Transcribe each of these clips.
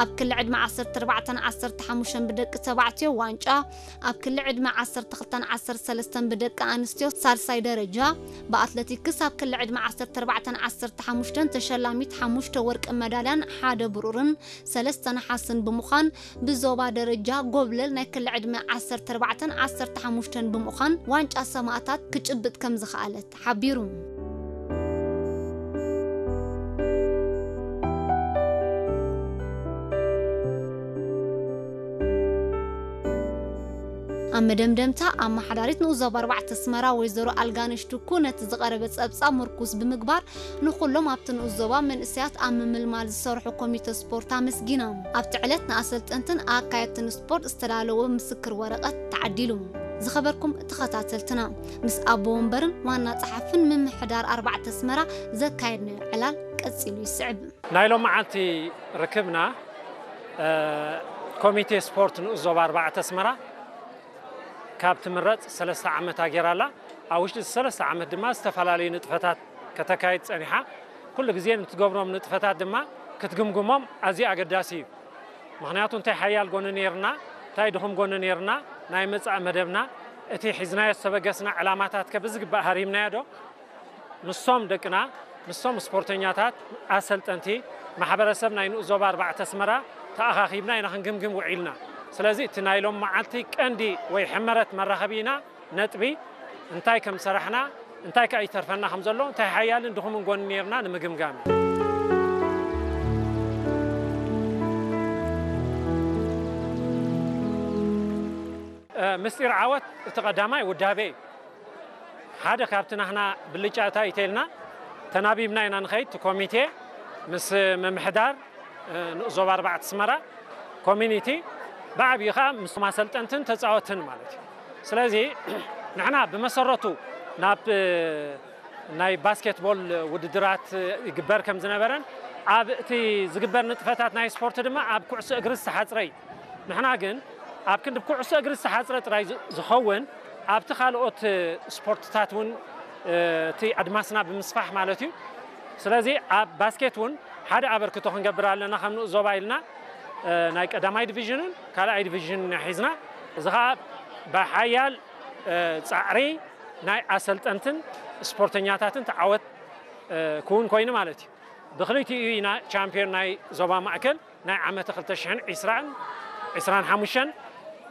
ኣብ ክሊ ዕድመ ዓሰርተ ኣርባዕተን ዓሰርተ ሓሙሽተን ብደቂ ተባዕትዮ ዋንጫ፣ ኣብ ክሊ ዕድመ ዓሰርተ ክልተን ዓሰርተ ሰለስተን ብደቂ ኣንስትዮ ሳልሳይ ደረጃ፣ ብኣትለቲክስ ኣብ ክሊ ዕድመ ዓሰርተ ኣርባዕተን ዓሰርተ ሓሙሽተን ተሸላሚት ሓሙሽተ ወርቂ መዳልያን ሓደ ብሩርን ሰለስተ ነሓስን ብምዃን ብዞባ ደረጃ ጎብለል ናይ ክሊ ዕድመ ዓሰርተ ኣርባዕተን ዓሰርተ ሓሙሽተን ብምዃን ዋንጫ ሰማእታት ክጭብጥ ከም ዝኸኣለት ሓቢሩ። ኣብ መደምደምታ፣ ኣመሓዳሪት ንኡስ ዞባ ኣርባዕተ ኣስመራ ወይዘሮ ኣልጋነሽ ቱኩ ነቲ ዝቐረበ ጸብጻብ ምርኩስ ብምግባር፣ ንኹሎም ኣብቲ ንኡስ ዞባ መንእሰያት ኣብ ምምልማል ዝሰርሑ ኮሚተ ስፖርት ኣመስጊና። ኣብቲ ዕለት ንኣሰልጠንትን ኣካየድትን ስፖርት ዝተዳለወ ምስክር ወረቐት ተዓዲሉ። ዝኸበርኩም ተኸታተልትና፣ ምስ ኣቦ ወንበርን ዋና ጸሓፍን ምምሕዳር ኣርባዕተ ኣስመራ ዘካየድናዮ ዕላል ቀጺሉ ይስዕብ። ናይ ሎም መዓልቲ ርክብና፣ እ፣ ኮሚቴ ስፖርት ንኡስ ዞባ ኣርባዕተ ኣስመራ ካብ ትምረጽ ሰለስተ ዓመታ ጌራ ኣላ። ኣብ ውሽጢ እዚ ሰለስተ ዓመት ድማ ዝተፈላለዩ ንጥፈታት ከተካይድ ጸኒሓ። ኩሉ ግዜ ንትገብሮም ንጥፈታት ድማ ክትግምግሞም ኣዝዩ ኣገዳሲ እዩ። ምኽንያቱ እንታይ ሓያል ጎኒ ኔርና፣ እንታይ ድኹም ጎኒ ኔርና፣ ናይ መጻኢ መደብና፣ እቲ ሒዝናዮ ዝተበገስና ዕላማታት ከ ብዝግባእ ሃሪምናዮ ዶ? ምስቶም ደቅና፣ ምስቶም ስፖርተኛታት፣ ኣሰልጠንቲ፣ ማሕበረሰብ ናይ ንኡስ ዞባ ኣርባዕተ ኣስመራ ተኣኻኺብና ኢና ክንግምግም ውዒልና። ስለዚ እቲ ናይ ሎም መዓልቲ ቀንዲ ወይ ሕመረት መራኸቢና ነጥቢ እንታይ ከም ሰራሕና፣ እንታይ ከ ይተርፈና ከም ዘሎ፣ እንታይ ሓያልን ድኹምን ጎኒ ኔርና ንምግምጋም እዩ። እ፣ ምስጢር ዓወት እቲ ቀዳማይ ውዳቤ እዩ። ሓደ ካብቲ ናህና ብልጫ እንታይ እዩ ተልና፣ ተናቢብና ኢና ንኸይድ። እቲ ኮሚቴ ምስ ምምሕዳር፣ እ፣ ንኡስ ዞባ ኣርባዕተ ኣስመራ ኮሚኒቲ፣ ብዓብዪ ኸዓ ምስ ኣሰልጠንትን ተጻወትን ማለት እዩ። ስለዚ ንሕና ብመሰረቱ ናብ፣ እ፣ ናይ ባስኬትቦል ውድድራት ይግበር ከም ዝነበረን ኣብ እቲ ዝግበር ንጥፈታት ናይ ስፖርት ድማ ኣብ ኩዕሶ እግሪ ዝተሓጽረ እዩ። ንሕና ግን ኣብ ክንዲ ኩዕሶ እግሪ ዝተሓጽረ ጥራይ ዝ-፣ ዝኸውን ኣብቲ ካልኦት ስፖርትታት እውን፣ እ፣ እቲ ኣድማስና ብምስፋሕ ማለት እዩ። ስለዚ ኣብ ባስኬት እውን ሓደ ኣበርክቶ ክንገብር ኣለና ከም ንኡስ ዞባ ኢልና፣ እ፣ ናይ ቀዳማይ ዲቪዥንን ካልኣይ ዲቪዥንን ሒዝና፣ እዚ ኸዓ ብሓያል፣ እ፣ ጻዕሪ ናይ ኣሰልጠንትን ስፖርተኛታትን ተዓወት፣ እ፣ ክውን ኮይኑ ማለት እዩ። ብክልቲኡ ኢና ቻምፒዮን ናይ ዞባ ማእከል ናይ ዓመተ ክልተ ሽሕን ዕስራን ዕስራን ሓሙሽተን፣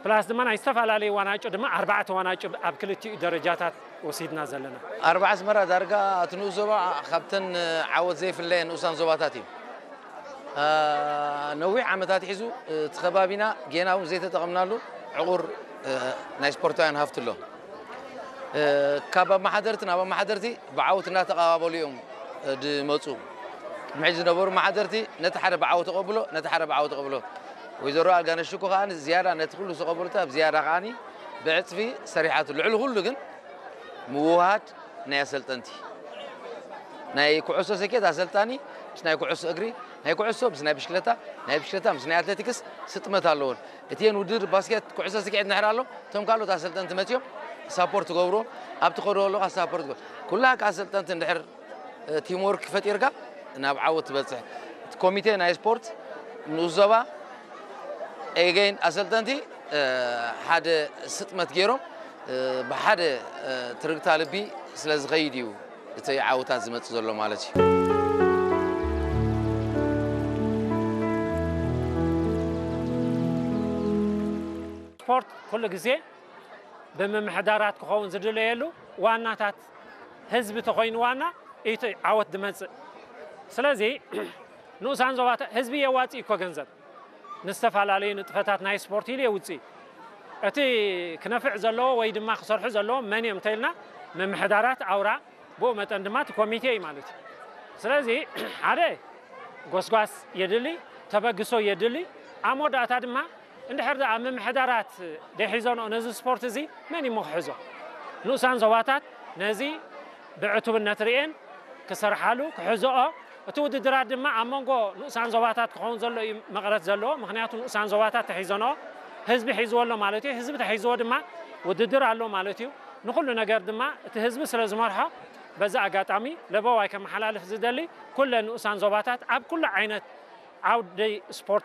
ፕላስ ድማ ናይ ዝተፈላለዩ ዋናጮ ድማ ኣርባዕተ ዋናጮ ኣብ ክልቲኡ ደረጃታት ወሲድና ዘለና። ኣርባዓ ኣስመራ ዳርጋ እቲ ንኡስ ዞባ ካብተን ዓወት ዘይፍለየን ንኡሳን ዞባታት እዩ። አ፣ ነዊሕ ዓመታት ሒዙ እቲ ከባቢና ጌና እውን ዘይተጠቐምናሉ ዕቑር፣ እ፣ ናይ ስፖርታውያን ሃፍቲ ኣሎ። እ፣ ካብ ኣመሓደርቲ ናብ ኣመሓደርቲ ብዓወት እናተቐባበሉ እዮም፣ እ፣ ዝመፁ። ቅድሚ ሕጂ ዝነበሩ ኣመሓደርቲ ነቲ ሓደ ብዓወት ተቐብሎ፣ ነቲ ሓደ ብዓወት ተቐብሎ። ወይዘሮ ኣልጋነሽ ሽኮ ከኣ ዝያዳ ነቲ ኩሉ ዝተቐበሉታ ብዝያዳ ከኣ ብዕፅፊ ሰሪሓቱ። ልዕሊ ኩሉ ግን ምውህሃድ ናይ ኣሰልጠንቲ። ናይ ኩዕሶ ሰኬት ኣሰልጣኒ ምስ ናይ ኩዕሶ እግሪ፣ ናይ ኩዕሶ ምስ ናይ ብሽክለታ፣ ናይ ብሽክለታ ምስ ናይ ኣትሌቲክስ ስጥመት ኣለዎን። እቲኤን ውድድር ባስኬት፣ ኩዕሶ ስኪዔት እንድሕር ኣሎ፣ እቶም ካልኦት ኣሰልጠንቲ መጺኦም ሳፖርት ትገብርዎ፣ ኣብቲ ከዶ ኣለኻ ሳፖርት ትገብር። ኩላ ከኣ ኣሰልጠንቲ እንድሕር፣ እ፣ ቲም ወርክ ፈጢርካ ናብ ዓወት ትበጽሕ። እቲ ኮሚቴ ናይ ስፖርት ንኡስ ዞባ ኤገይን ኣሰልጠንቲ፣ እ፣ ሓደ ስጥመት ገይሮም፣ እ፣ ብሓደ፣ እ፣ ትርግታ ልቢ ስለ ዝኸይድ እዩ እቲ ዓወታት ዝመጽእ ዘሎ ማለት እዩ። ስፖርት ኩሉ ግዜ ብምምሕዳራት ክኸውን ዝድለየሉ ዋናታት ህዝቢ ተኾይኑ ዋና እቲ ዓወት ዝመጽእ። ስለዚ ንኡሳን ዞባታት ህዝቢ የዋጽእ እኮ ገንዘብ። ንዝተፈላለዩ ንጥፈታት ናይ ስፖርት ኢሉ የውጽእ። እቲ ክነፍዕ ዘለዎ ወይ ድማ ክሰርሑ ዘለዎ መን እዮም እንተኢልና ምምሕዳራት ኣውራ፣ ብኡ መጠን ድማ እቲ ኮሚቴ እዩ ማለት እዩ። ስለዚ ሓደ ጎስጓስ የድሊ፣ ተበግሶ የድሊ። ኣብ መወዳእታ ድማ እንድሕር ደኣ ምምሕዳራት ደይሒዘንኦ ነዚ ስፖርት እዚ መን እዩ እሞ ክሕዞ? ንኡሳን ዞባታት ነዚ ብዕቱብነት ርእየን ክሰርሓሉ፣ ክሕዝኦ፣ እቲ ውድድራት ድማ ኣብ መንጎ ንኡሳን ዞባታት ክኸውን ዘሎ እዩ መቐረት ዘለዎ። ምኽንያቱ ንኡሳን ዞባታት ተሒዘንኦ፣ ህዝቢ ሒዝዎ ኣሎ ማለት እዩ። ህዝቢ ተሒዝዎ ድማ ውድድር ኣሎ ማለት እዩ። ንኹሉ ነገር ድማ እቲ ህዝቢ ስለ ዝመርሖ፣ በዚ ኣጋጣሚ ለበዋይ ከመሓላልፍ ዝደሊ፣ ኩለን ንኡሳን ዞባታት ኣብ ኩሉ ዓይነት ዓውዲ ስፖርት